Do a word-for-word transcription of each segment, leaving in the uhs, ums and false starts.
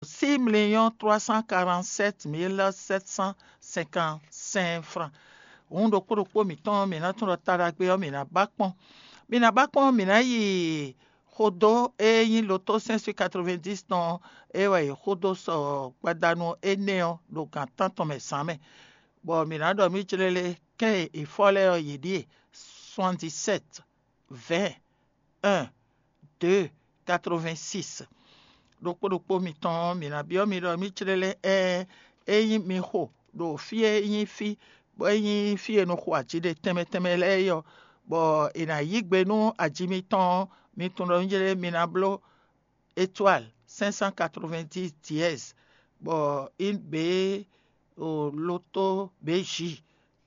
six millions trois cent quarante-sept mille sept cent cinquante-cinq francs. Hǔn ɖokpó ɖokpó mǐtɔn, mǐ ná tunwun ɖɔ ta ɖagbe ɔ́, mǐ ná ba kpɔ́n. Mǐ ná ba kpɔ́n, mǐ ná yi xodó e nyí loto cinq cent quatre-vingt-dix tɔn ɔ́, é wɛ è xo dó sɔ gbadanu énɛ́ ɔ́ ɖo gan tántɔn mɛ zǎn mɛ, bɔ mǐ ná ɖɔ mǐ jlélé kɛ́n e è fɔ́ lɛ́ɛ ɔ́, yě ɖíe: soixante-dix-sept, vingt, un, deux, quatre-vingt-six. Ɖokpó ɖokpó mitɔn ɔ́, mǐ ná byɔ́ mi ɖɔ mǐ jlélé ɛ́n, ényí mi xo ɖo fí e nyí fí bɔ é nyí fí e è nɔ xo aji ɖe tɛnmɛ tɛnmɛ lɛ́ɛ é ɔ́, bɔ è nǎ yí gbe nú aji mitɔn ɔ́, mi tunwun ɖɔ mǐ jlélé mi ná bló étoile cinq cent quatre-vingt-dix dièse, bɔ in B o loto B J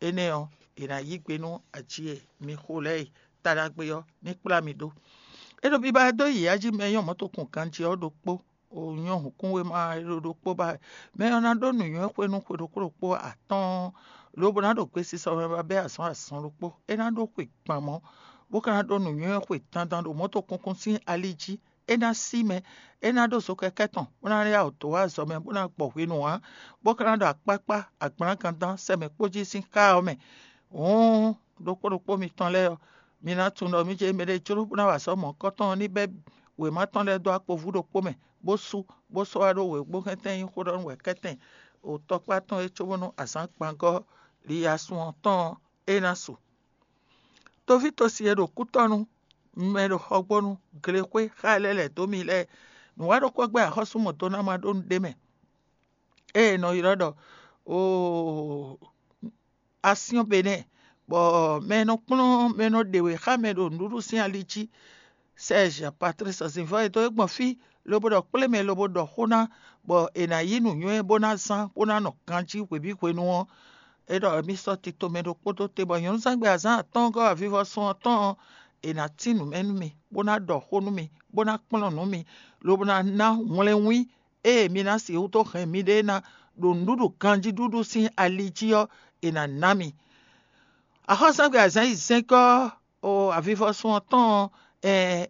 énɛ́ ɔ́, è nǎ yí gbe nú aji e mi xo lɛ́ɛ e ta ɖagbe ɔ́ ní kplá mi ɖó. É ɖo biba dó yi ají mɛ e nyɔ́ mɔ̌tokun ganjí ɔ́ ɖokpó, o nyɔ́ hǔnkúnwéma e ɖo ɖokpó ba wɛ. Mɛ ɔ́ ná ɖó nǔnywɛ́ xwe nú xwe ɖokpó ɖokpó atɔ́ɔ́n, lobo ná ɖo gbesisɔ mɛ ba bɛ́ azɔn azɔn ɖokpó. É ná ɖó xwe gban mɔ̌, bó ka ná ɖó nǔnywɛ́ xwe dandan ɖo mɔ̌tokunkun sín ali jí. É ná sí mɛ, é ná ɖó zokɛkɛ́ tɔn, bó ná yá wǔ dó wá azɔ̌ mɛ, bó ná gbɔ hwenu ǎ, bó ka ná ɖo akpákpá, agblǎngandán, sɛmɛ kpó jí sín xá ɔ́ mɛ. Hǔn, ɖokpó ɖokpó mitɔn lɛ́ɛ ɔ́, mi ná tunwun ɖɔ mǐ jɛ mɛ ɖé jló bó ná wa azɔ̌ mɔ̌hunkɔtɔn ɔ́ ní bɛ́ wěma tɔn lɛ́ɛ dó akpovú ɖokpó mɛ, bó sú, bó sɔ́ wá ɖó wěgbóhɛntɛn nyí xó ɖɔ nú wɛ̌kɛ́tɛn ɖo tɔkpá tɔn é cóbónú azǎn gbangɔ́ liyasun ɔ́ tɔn ɔ́, é ná su. Toví tosi e ɖo kútɔ́nu mɛ ɖo xɔgbónu glexwé xá lɛ́ lɛ̌ dó mi lɛ́ɛ, nǔ wa ɖokpó gbɛ́ axɔ́sú mɔ̌ dó ná ma ɖó nǔɖé mɛ, ée è nɔ ylɔ́ ɖɔ oo asyɔ́n Benɛ́ɛ, bɔ mɛ e nɔ kplɔ́n mɛ e nɔ ɖe wě xá mɛ ɖo nǔɖuɖu sín ali jí, Serge Patrice Zinvɔ́ e dó é gbɔn fí, lobo ɖɔ kplé mɛ lobo ɖɔ xó ná, bɔ è nǎ yí nǔnywɛ́ bó ná zán bó ná nɔ ganjí hwebǐ hwenu ɔ́, é ɖɔ mì sɔ́ tito mɛ ɖokpó dó te, bɔ nyɔ̌nuzángbe azǎn atɔ́ɔ́ngɔ́ avivɔsun ɔ́ tɔn ɔ́, è nǎ tín nǔ mɛ nú mi, bó ná ɖɔ xó nú mi, bó ná kplɔ́n nǔ mi, lobo ná ná hwlɛ́nwín ée mi ná sixú dó hɛn miɖée ná ɖo nǔɖuɖu ganjíɖuɖu sín ali jí ɔ́, è nǎ ná mi. Axɔ́súgbɛ́ azǎn yi zɛ́nkɔ́ o avivɔsun ɔ́ tɔn ɔ́,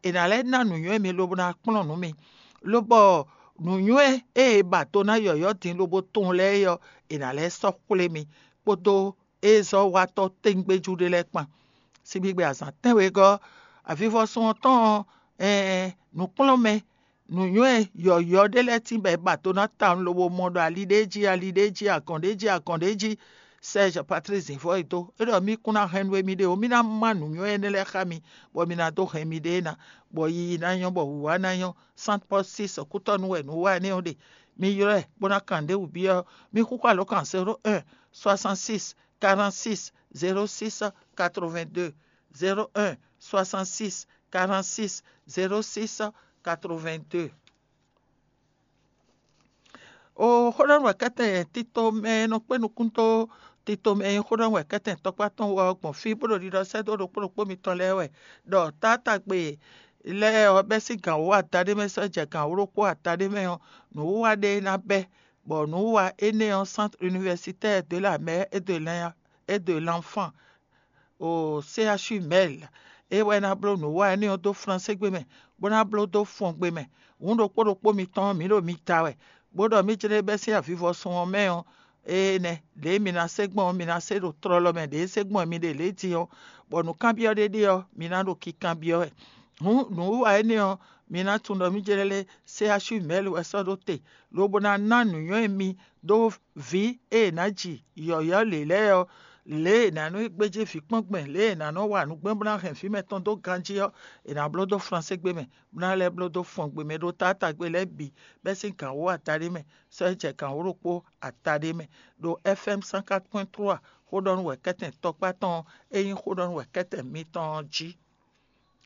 è nǎ lɛ́ ná nǔnywɛ́ mi lobo ná kplɔ́n nǔ mi, lobɔ nǔnywɛ́ e è ba do ná yɔ̌yɔ́ din lobo tunwun lɛ́ɛ é ɔ́, è nǎ lɛ́ sɔ́ xwlé mi kpódó ézɔ́watɔ́ tɛ́ngbéjú ɖé lɛ́ɛ kpan. Síbígbe azǎn tɛ́nwegɔ́, avivɔsun ɔ́ tɔn ɔ́, nǔkplɔ́nmɛ nǔnywɛ́ yɔ̌yɔ́ ɖé lɛ́ɛ tín bɔ è ba do ná tawun lobo mɔ ɖɔ ali ɖé jí, ali ɖé jí, agɔ̌n ɖé jí, agɔ̌n ɖé jí. Serge Patrice Zinvɔ́ e dó é ɖɔ mì kún ná hɛn nú émí ɖé ó, mì ná má nǔnywɛ́ énɛ́ lɛ́ɛ xá mi, bɔ mi ná dó hɛn miɖée ná, bɔ yiyi ná nyɔ́, bɔ wǔwá ná nyɔ́. Saint Paul six kútɔ́nú wɛ nǔ wa énɛ́ ɔ́ ɖe. Mi ylɔ́ ɛ bó ná kan ɖěbǔ byɔ́ mì xúxú alǒkan zéro un soixante-six quarante-six zéro six quatre-vingt-deux, zéro un soixante-six quarante-six zéro six quatre-vingt-deux. O xó ɖɔ nú wɛ̌kɛ́tɛn tito mɛ e nɔ kpé nukún dó tito mɛ e nyí xó ɖɔ nú wɛ̌kɛ́tɛn tɔkpá tɔn wú ɔ́ gbɔn fí bó ɖo ɖiɖɔ sɛ́ dó ɖokpó ɖokpó mitɔn lɛ́ɛ wɛ, ɖɔ taátagbe lɛ́ɛ ɔ́ bɛ́ sín gǎn wú adaɖé mɛ sɔ́ jɛ gǎn wú ɖokpó adaɖé mɛ ɔ́, nǔwiwa ɖé ná bɛ́, bɔ nǔwiwa énɛ́ ɔ́, Centre Universitaire de la Mère et de l'En- et de l'Enfant o C H U Mɛl, é wɛ ná bló nǔwiwa énɛ́ ɔ́ dó Flansé gbé mɛ, bó ná bló dó Fɔngbe mɛ. Hǔn ɖokpó ɖokpó mitɔn ɔ́, mǐ ɖo mi ta wɛ, bó ɖɔ mǐ jlé bɛ́ sín avivɔsun ɔ́ mɛ ɔ́, énɛ́ lě e mi ná se gbɔn ɔ́, mi ná se ɖo tlɔlɔ mɛ ɖě e se gbɔn mi ɖe lě din ɔ́, bɔ nǔkanbyɔ́ ɖé ɖe ɔ́, mi ná ɖo kinkanbyɔ́ wɛ. Hǔn nǔwiwa énɛ́ ɔ́, mi ná tunwun ɖɔ mǐ jlɛ́ lé C H U Mɛl wɛ sɔ́ ɖó te, lobo ná ná nǔnywɛ́ mi dó vǐ e è nǎ ji yɔ̌yɔ́ lě lɛ́ɛ ɔ́, lě e è nǎ nɔ gbéjé vǐ kpɔ́n gbɛn, lě e è nǎ nɔ wa nǔ gbɛn bó ná hɛn vǐ mɛtɔn dó ganjí ɔ́, è nǎ bló dó Flansé gbé mɛ, bó ná lɛ́ bló dó Fɔngbe mɛ ɖó taátagbe lɛ́ɛ bǐ bɛ́ sín gǎn wú adaɖé mɛ, sɔ́ é jɛ gǎn wú ɖokpó adaɖé mɛ, ɖo F M cent quatre point trois xó ɖɔ nú wɛ̌kɛ́tɛn tɔkpá tɔn e nyí xó ɖɔ nú wɛ̌kɛ́tɛn mitɔn ɔ́ jí.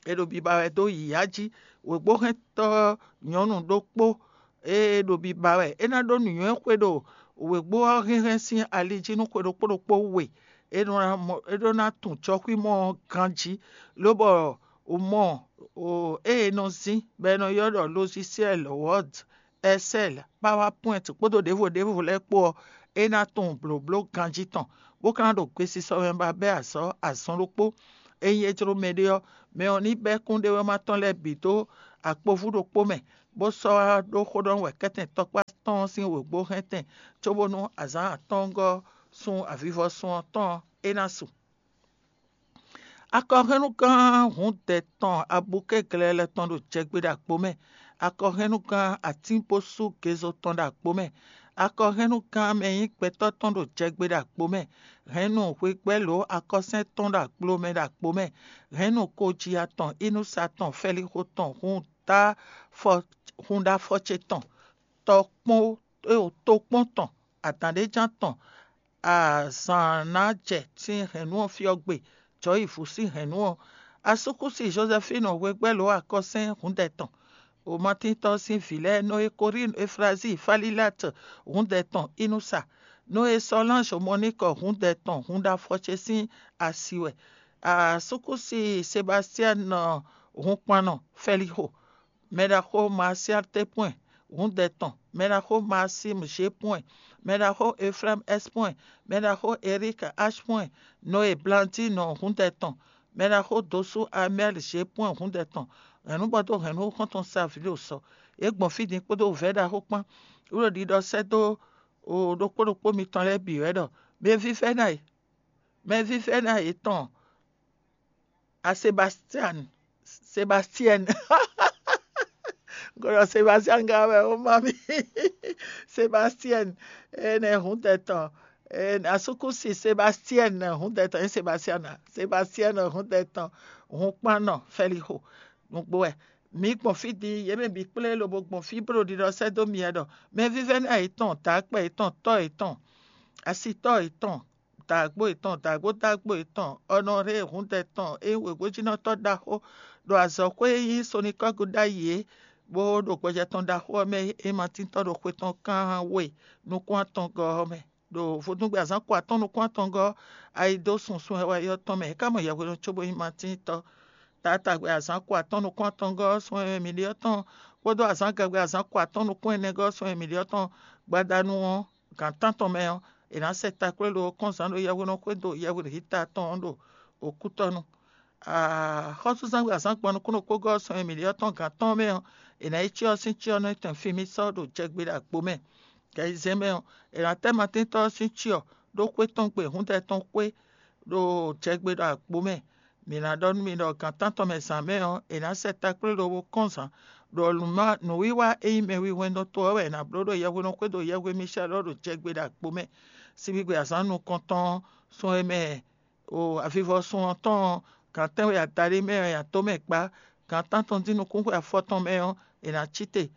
È ɖo biba wɛ dó yǐyá jí. Wěgbóhɛntɔ́ nyɔ̌nu ɖokpó e ɖo biba wɛ, é ná ɖó nǔnywɛ́ xwe ɖo wěgbó ɔ́ hɛnhɛn sín ali jí nú xwe ɖokpó ɖokpó we. É ɖó ná mɔ- é ɖó ná tunwun jɔxwímɔ ɔ́ ganjí, lobɔ mɔ ée è nɔ zín bɔ è nɔ ylɔ́ ɖɔ lozisɛ́l Word, Excel, PowerPoint kpódó ɖěvo ɖěvo lɛ́ɛ kpó ɔ́, é ná tunwun blǒbló ganjí tɔn, bó ka ná ɖo gbesisɔ mɛ ba bɛ́ azɔ̌ azɔn ɖokpó. Ényí é jló mɛɖé ɔ́, mɛ ɔ́ ní bɛ́ kúnɖéwéma tɔn lɛ́ɛ bǐ dó akpovú ɖokpó mɛ, bó sɔ́ wá ɖó xó ɖɔ wɛ kɛ́tɛn tɔkpá tɔn sín wěgbó hɛntɛn, cóbónú azǎn atɔ́ɔ́ngɔ́ sun avivɔsun ɔ́ tɔn é ná su. Akɔhɛnnugán hǔndɛ tɔn abukɛ́glɛ́lɛ́ tɔn ɖo jɛgbé ɖo agbo mɛ. Akɔhɛnnugán atínbosú gezo tɔn ɖo agbo mɛ. Akɔhɛnnugán mɛ nyí gbɛtɔ́ tɔn ɖo jɛgbé ɖo agbo mɛ. Hɛn nú hwegbɛ́lǒ akɔsɛ́n tɔn ɖo aglo mɛ ɖo agbo mɛ. Hɛn nú koji atɔn, inúsa tɔn, fɛlixo tɔn, hun dá fɔ hun ɖo afɔ ce tɔn, tɔkpɔn tokpɔn tɔn, adǎnɖéjan tɔn, azǎn ná jɛ sín hɛ̌nnu ɔ́ fí ɔ́ gbe, jɔ̌ yi vǔ sín hɛ̌nnu ɔ́. Asúkúsi Jozɛfínu hwegbɛ́ lǒ akɔ́sɛ́n hǔndɛ tɔn. Omatíntɔ́ sín vǐ lɛ́ɛ Noe Korín Eflazíi Falílat hǔndɛ tɔn Inúsa. Noe sɔ́ Lanzɔ Mɔníkɔ hǔndɛ tɔn hun ɖo afɔ ce sín asi wɛ. Asúkúsi Sebastian hunkpannɔ Fɛlixo. Mɛɖaxó Marsial Tepwɛn, hǔndɛ tɔn, mɛɖaxó Maxime Jepwɛn, mɛɖaxó Efrem Espwɛn, mɛɖaxó Erik Ashpwɛn, Noe Blandino hǔndɛ tɔn, mɛɖaxó Dosu Amɛl Jepwɛn hǔndɛ tɔn, hɛ̌nnubɔ́ dó hɛ̌nnu xɔ́ntɔn Savilio sɔ. Yě gbɔn fí din kpódó vɛ̌ ɖaxó kpán, wú ɖo ɖiɖɔ sɛ́ dó ɖokpó ɖokpó mitɔn lɛ́ɛ bǐ wɛ ɖɔ: Mɛ vívɛ́ná e, mɛ vívɛ́ná yětɔn a Sebastian, Sebastian. Gɔlɔ Sebastian gá wɛ ó má mi. Sebastian, énɛ́ húndɛ tɔn, asúkúsi Sebastian húndɛ tɔn, é Sebastian a? Sebastian húndɛ tɔn, hun kpán nɔ Fɛlixo nǔgbó wɛ. Mǐ gbɔn fí din, yě mɛ bǐ kplé lobo gbɔn fí bó ɖo ɖiɖɔ sɛ́ dó myɛ ɖɔ: Mɛ vívɛ́ná yětɔn, dǎkpɛ yětɔn, tɔ́ yětɔn, asitɔ́ yětɔn, dǎgbó yětɔn, dǎgbó dǎgbó yětɔn, Ɔnɔɖée húndɛ tɔn, é nyí wěgbójínɔtɔ́ ɖaxó ɖo azɔ̌xwé e nyí Sonikɔ́gu ɖ'ayǐ é, bó ɖo gbɔjɛ tɔn ɖaxó ɔ́ mɛ é ma tíntɔ́ ɖo xwe tɔn kán we nukún atɔngɔ́ ɔ́ mɛ. Ɖo vodúngbe azǎn ko atɔ́ɔ́n nukún atɔngɔ́ ɔ́, ayi dó susun e wɛ ɔ́ tɔn mɛ, é ka mɔ yɛhwenu cóbó nyí ma tíntɔ́. Taatagbe azǎn ko atɔ́ɔ́n nukún atɔngɔ́ ɔ́ sun e mǐ ɖe ɔ́ tɔn, kpódó azǎn gɛgbɛ azǎn ko atɔ́ɔ́n nukún ɛnɛgɔ́ ɔ́ sun e mǐ ɖe ɔ́ tɔn, gbadanu ɔ́, gǎn tántɔn mɛ ɔ́, è nǎ sɛ takplé ɖo kɔ́nzǎn ɖo yɛhweɖɔxwé dó yɛhweɖěta tɔn ɔ́ ɖo okútɔ́nu. Xɔ́súzán gbe azǎn gban nukúnnú kpógɔ́ sɔn e mǐ ɖe ɔ́ tɔn gǎn tɔn mɛ ɔ́, è nǎ yi cyɔ ɔ́ sín cyɔ nɔ tɛn fí mì sɔ́ ɖo jɛgbe ɖo agbo mɛ. Gɛ̌yizɛ́n mɛ ɔ́, è nǎ tɛ́ matɛ́ntɔ́ ɔ́ sín cyɔ ɖó xwé tɔn gbe húndɛ tɔn xwé ɖo jɛgbe ɖo agbo mɛ. Mǐ ná ɖɔ nú mi ɖɔ gǎn tántɔn mɛ zǎn mɛ ɔ́, è nǎ sɛ takplé lobo kɔ́n zǎn, ɖɔ nǔwiwa e nyí mɛ wíwɛ́ndɔ́ to ɔ́ wɛ è nǎ bló ɖo yɛhweɖɔxwé ɖo yɛhwe Micɛ́l ɔ́ ɖo jɛgbe ɖo agbo mɛ. Síbígbe azǎn nukɔntɔn ɔ́, sun e mɛ o avivɔsun ɔ́ tɔn ɔ́, gǎn tɛ́nwe adaɖé mɛ wɛ atomɛ kpá, gǎn tántɔn dín nukúnxwe afɔtɔn mɛ ɔ́, è nǎ cí te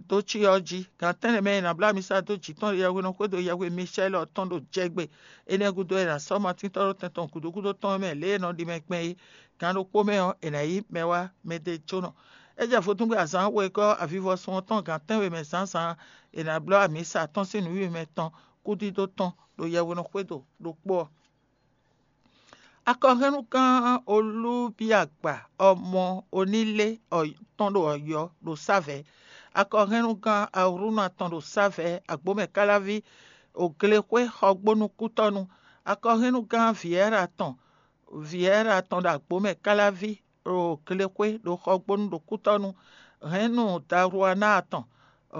dó cyɔ ɔ́ jí. Gǎn tɛ́nnɛ mɛ e è nǎ bló amisa dó jǐ tɔn ɖo yɛhweɖɔxwé ɖo yɛhwe Micɛ́l ɔ́ tɔn ɖo jɛgbe. Énɛ́ gúdo é nǎ sɔ́ matintɔ́ ɖo tɛn tɔn gǔdo gúdo tɔn mɛ lě e è nɔ ɖi mɛ gbɛn é. Gǎn ɖokpó mɛ ɔ́, è nǎ yí mɛ wá mɛ ɖé jónɔ. É jɛ vodúngbe azǎn wegɔ́ avivɔsun ɔ́ tɔn gǎn tɛ́nwe mɛ zǎnzǎn, è nǎ bló amisa tɔn sín nǔwiwa mɛ tɔn kúdídó tɔn ɖo yɛhweɖɔxwé ɖo ɖokpó ɔ́. Akɔhɛnnugán Olúbíagba ọmọ Onílé tɔn ɖo Ọ̀yọ́ ɖo Sávɛ̌. Akɔhɛnnugán Awrúna tɔn ɖo Sávɛ̌, Agbǒmɛkáláví, Òglexwé xɔgbónú kútɔ́nu. Akɔhɛnnugán Vǐɛ́ra tɔn, Vǐɛ́ra tɔn ɖo Agbǒmɛkáláví ɖo Glexwé ɖo xɔgbónú ɖo kútɔ́nu. Hɛ̌nnu Dawluaná tɔn,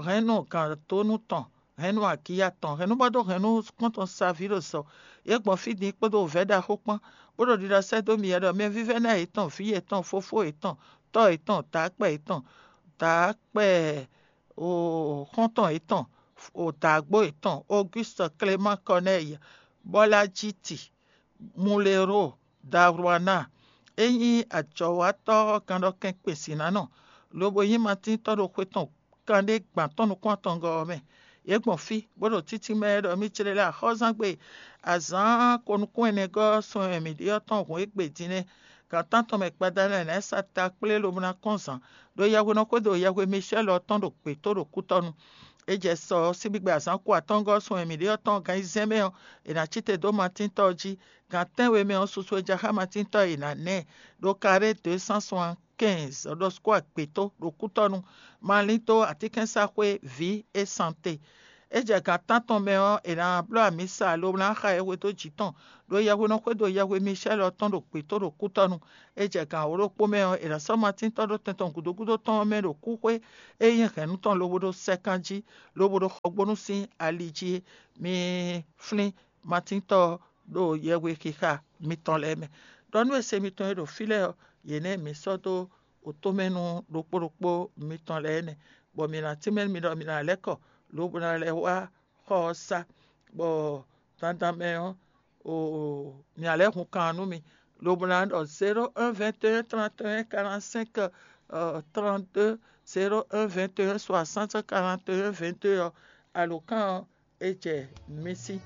hɛ̌nnu Gǎndónú tɔn, hɛ̌nnu Agiya tɔn, hɛ̌nnubɔ́ dó hɛ̌nnu kpɔ́ntɔn Savílo sɔ. Yě gbɔn fí din kpódó vɛ̌ ɖaxó kpán, bó ɖo ɖiɖɔ sɛ́ dó mi wɛ ɖɔ mɛ vívɛ́ná yětɔn, vǐ yětɔn, fofó yětɔn, tɔ́ yětɔn, dǎkpɛ yětɔn, dǎkpɛ xɔ́ntɔn yětɔn, dǎgbó yětɔn, Ogústɔ Klemáan Kɔnɛ́yi, Bɔ́lájiti, Mulero, Dawluaná, é nyí ajɔ̌watɔ́ gannɖɔkɛn kpɛ̌sinánɔ, lobo nyí matíntɔ́ ɖo xwe tɔn kanɖé gban tɔn nukún atɔngɔ́ ɔ́ mɛ. Yě gbɔn fí, bó ɖo títí mɛ ɖɔ mì jlé lɛ axɔ́zán gbe azǎn ko nukún ɛnɛgɔ́ sɔn e mǐ ɖe ɔ́ tɔn hǔn égbé din nɛ́. Gan tántɔn mɛ gbadanu ɔ́, è nǎ sa ta kplé lobo ná kɔn zǎn, ɖo yɛhwe nɔ xwedó yɛhwe Micɛ́l ɔ́ tɔn ɖo gbětó ɖo kútɔ́nu. É jɛ sɔ ɔ́, síbígbe azǎn ko atɔ́ngɔ́ sɔn e mǐ ɖe ɔ́ tɔn gan ayizɛ́n mɛ ɔ́, è nǎ cí te dó matíntɔ́ ɔ́ jí. Gan tɛ́nwe mɛ ɔ́, susu e ja xá matíntɔ́ e è nǎ ná ɛ ɖo karé deux cent soixante-quinze ɖɔ sukú agbětó ɖo kútɔ́nu, malín dó atínkɛ́nsaxwé vǐ é sante. É jɛ gan tántɔn mɛ ɔ́, è nǎ bló amǐsa lobo ná xa yɛhwe dó jǐ tɔn, ɖó yɛhwe nɔ xwedó yɛhwe Michɛ́l ɔ́ tɔn ɖo gbětó ɖo kútɔ́nu. É jɛ gan wǒ ɖokpó mɛ ɔ́, è nǎ sɔ́ matíntɔ́ ɖó tɛn tɔn gǔdo gúdo tɔn ɔ́ mɛ ɖo kúxwé e nyí hɛ̌nnu tɔn lobo ɖó sɛ́kán jí, lobo ɖó xɔgbónú sín ali jí é. Mi flín matíntɔ́ ɔ́ ɖo yɛhwe xixa mitɔn lɛ́ɛ mɛ. Ɖɔ nú e se mitɔn e ɖo fí lɛ́ɛ ɔ́, yě nɛ́ mǐ sɔ́ dó wǒtomɛnu ɖokpó ɖokpó mitɔn lɛ́ɛ nɛ́, bɔ mǐ ná tínmɛ mi ɖɔ mi ná lɛ́ kɔ, lobo ná lɛ́ wá xɔ ɔ́ sá, bɔ dandan mɛ ɔ́, mi ná lɛ́ hun kan nú mi, lobo ná ɖɔ zéro un vingt et un trente et un quarante cinq trente deux, zéro un vingt et un soixante quarante et un vingt deux ɔ́, alǒkan ɔ́, é jɛ mi sí.